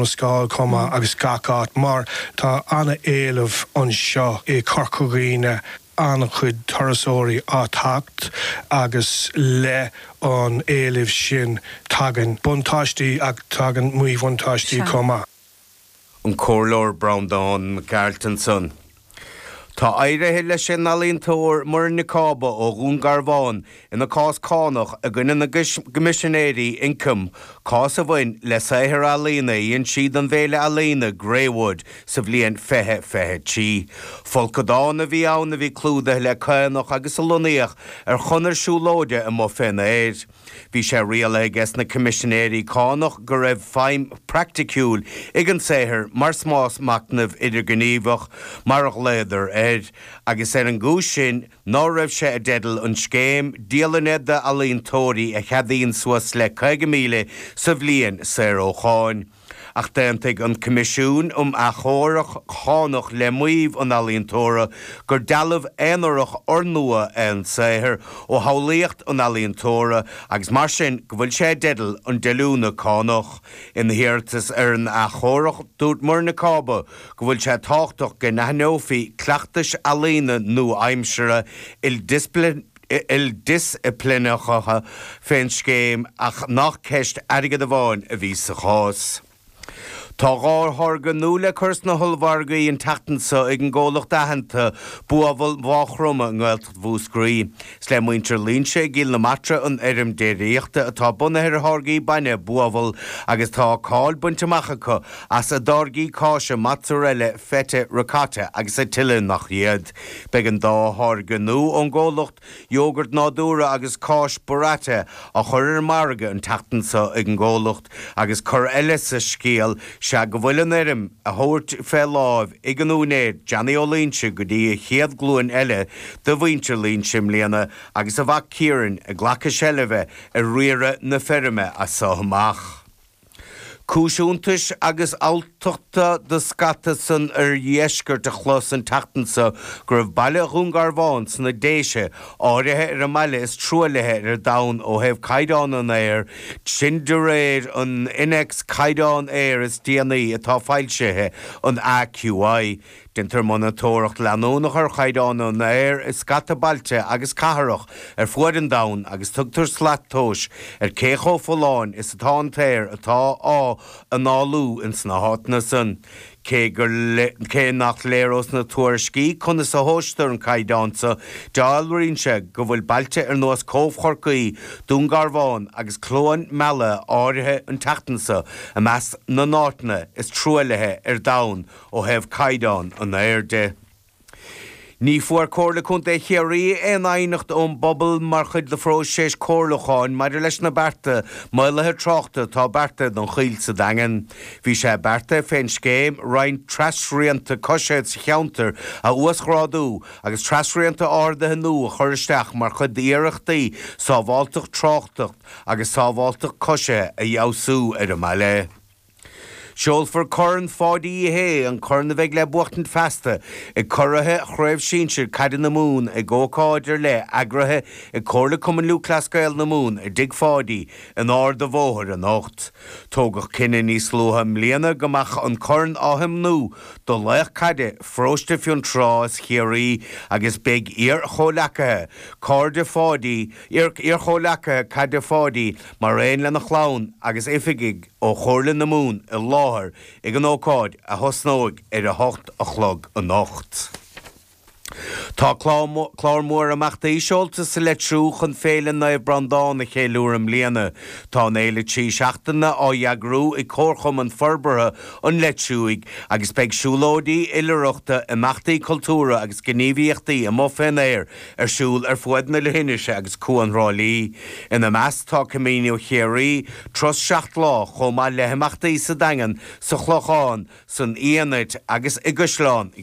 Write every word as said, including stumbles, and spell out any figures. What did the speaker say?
Scáil chomh maith agus gach áit mar tá an-éileamh anseo i Corca Dhuibhne an-chuid turasóirí ag teacht agus le an éileamh sin tagann buntáistí ach tagann míbhuntáistí chomh maith. An Comhairleoir Breandán Mac Gearailt ansan. Tá éirithe leis an ealaíontóir Muireann Nic Cába ó Dhún Garbhán ina cás cánach i gcoinne na gCoimisinéirí Ioncaim cás a bhain le saothar ealaíne a dhein sí don bhféile ealaíne Greywood sa bhliain fiche fiche trí. Folcadán a bhí ann a bhí clúdaithe le caonach agus a lonnaíodh ar chonair siúlóide amuigh fén aer. Bhí sé rialaithe ag na Coimisinéirí Cánach go raibh feidhm praiticiúil ag an saothar mar spás machnaimh idirghníomhach mar a ghlaodar air, agus ar an gcúis sin ná raibh sé i dteideal an scéim dialainne d'ealaíontóirí a cheadaíonn suas le caoga míle sa bhliain saor ó cháin. Ach d'aontaigh an Coimisiún um Achomharc Cánach le maíomh an ealaíontóra gur dealbh aonarach úrnua é an saothar ó shamhlaíocht an ealaíontóra agus mar sin go bhfuil sé i dteideal an díolúine cánach. Ina hiarratas ar an achomharc, dúirt Muireann Nic Cába go bhfuil sé tábhachtach go n-aithneofaí cleachtais ealaíne nua-aimseartha ildisciplíneacha fén scéim ach nach ceist airgid amháin a bhí sa chás. Tá dhá tháirge nua le cur sna hollmhargaí an tseachtain seo ag an gcomhlacht aitheanta Buabhall Mhaigh Chromtha i nGaeltacht Mhúscraí. Is le muintir Loingsigh i gCill na Martra an fheirm déiríochta atá bunaithe ar tháirgí bainne Buabhall agus tá cáil bainte amach acu as a dtáirgí cáise mozzarella, feta, ricotta agus a tuilleadh nach iad. Beidh an dá tháirge nua ón gcomhlacht, iógart nádúrtha agus cáis burrata, á chur ar an margadh an tseachtain seo ag an gcomhlacht agus cor eile sa scéal sea go bhfuil an fheirm á thabhairt fé láimh ag an úinéir Johnny Ó Loingsigh go dtí an chéad ghlúin eile de mhuintir Loingsigh i mbliana agus a mhac Ciaran ag glacadh seilbhe ar riaradh na feirme as so amach. Cúis iontais agus alltachta do scata san oirdheisceart a chlos an tseachtain seo go raibh baile Dhún Garbhán sna Déise áirithe ar an mbaile is truaillithe ar domhan ó thaobh caighdeán an aeir, sin de réir an Innéacs Caighdeán Aeir is déanaí atá foilsithe, an AQI. Déantar monatóireacht leanúnach ar chaighdeán an aeir i scata bailte agus cathrach ar fuaid an domhain agus tugtar slat tomhais ar cé chomh folláin is atá an t-aer atá á análú ins na háiteanna san. Cé gur cé nach léir ós na tuairiscí conas a thomhaistear an caighdeán so, dealraíonn sé go bhfuil bailte ar nós Cóbh Chorcaí, Dún Garbhán agus Cluain Meala áirithe an tseachtain so i measc na n-áiteanna is truaillithe ar domhan ó thaobh caighdeán an aeir de. Ní fuair Comhairle Contae Chiarraí aon aighneacht ón bpobal mar chuid de phróiseas comhairliúcháin maidir leis na bearta maolaithe tráchta atá beartaithe don Choill sa Daingean. Bhí sé beartaithe fén scéim roinnt trasrianta coisithe sa cheantar a uasghrádú agus trasrianta ardaithe nua a chur isteach mar chuid d'iarrachtaí sábháilteacht tráchta agus sábháilteacht coisithe a fheabhsú ar an mbaile. Seolfar Corn Pháidí Uí Shé, an corn a bheidh le buachtaint feasta ag curaithe Chraobh Shinsir Caide na Mumhan ag ócáid ar leith eagraithe ag Comhairle Cumann Lúthchleas Gael na Mumhan i dTigh Pháidí in Ard a' Bhóthair anocht. Tógadh cinneadh níos luaithe i mbliana go mbeadh an corn á thiomnú do laoch caide Pharóiste Fionntrá is Chiarraí agus beidh iar-chomhleacaithe, cairde Pháidí, iar-chomhleacaithe caide Pháidí mar aon lena chlann agus oifigigh ó Chomhairle na Mumhan i láthair ag an ócáid a thosnóidh ar a hocht a chlog anocht. Tá clár mór imeachtaí seolta sa Leitriúch chun Féile Naomh Breandán a cheiliúradh i mbliana. Tá an fhéile trí seachtaine á eagrú ag Comharchumann Forbartha an Leitriúigh agus beidh siúlóidí oilithreachta, imeachtaí cultúrtha agus gníomhaíochtaí amuigh fén aer ar siúl ar fuaid na leithinise agus Cuan Thrá Lí. Ina measc tá Camino Chiarraí, turas seacht lá, chomh maith le himeachtaí sa Daingean, sa Chlochán, san Fhianait agus i gCaisleán